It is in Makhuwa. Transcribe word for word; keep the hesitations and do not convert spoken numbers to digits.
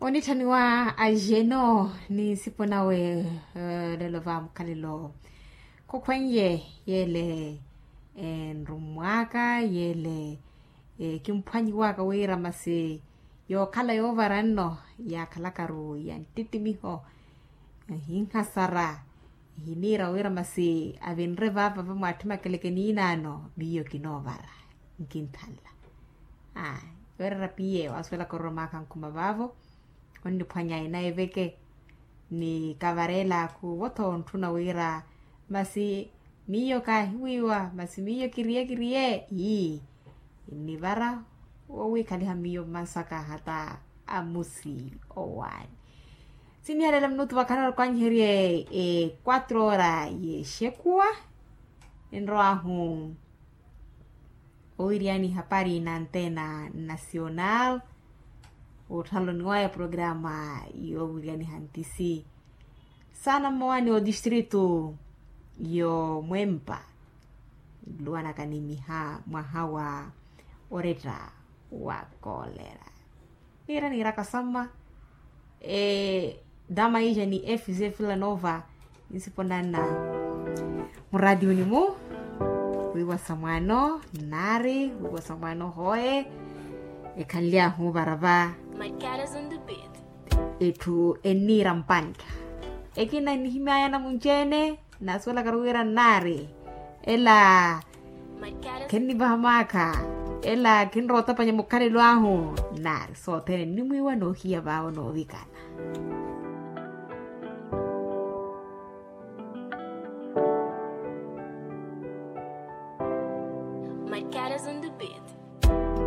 Onitthaniwa ajeno ni nsipo nawe. Lelo va mukhalelo khukhwenye yele enrumwaka yele kimphwanyiwaka wira masi yookhala yoovara nno yaakhalakaru ya nttitimiho. Ehinhasara ehiniira wira masi avinre vaava vamwaatthi makeleke niinaano miyo kinoovara. Nkinthanla. Aa, yoorera piye waasuwelaka ororomaka nkhuma vaavo. Onniphwanya ina eveke ni kavareelaaku votho ontthuna wira masi miyo kaahiwiiwa masi miyo kiriye kiriye ii. Nnivara wowiikhaliha miyo mmansaka hata amusi owaani. Sinihalela minutu vakhanarukwanyiherye e quatro ora yexekuwa. Enrowahu owiriyani hapari na antena nacional. Otthaloni waya programa yowiriyani hantisi sana mmowani otistritu yomwempa. Luwanaka ni miha mwaha wa oretta wa kolera. Niira niiraka samma. Dama ija ni fc villanova nisiponanna muraationi mu wiiwa samwaano nnaari wiiwa samwaano hoye. Ekhanly'ahu varava etthu enniira mpantta ekina nnihimy'aya namunci-ene. Naasuwelakaru wira nnaari ela khennivaha maakha ela khinrowa otapanya mukhalelo ahu. Nnaari sothene nnimwiiwa noohiya vaawo noovikana.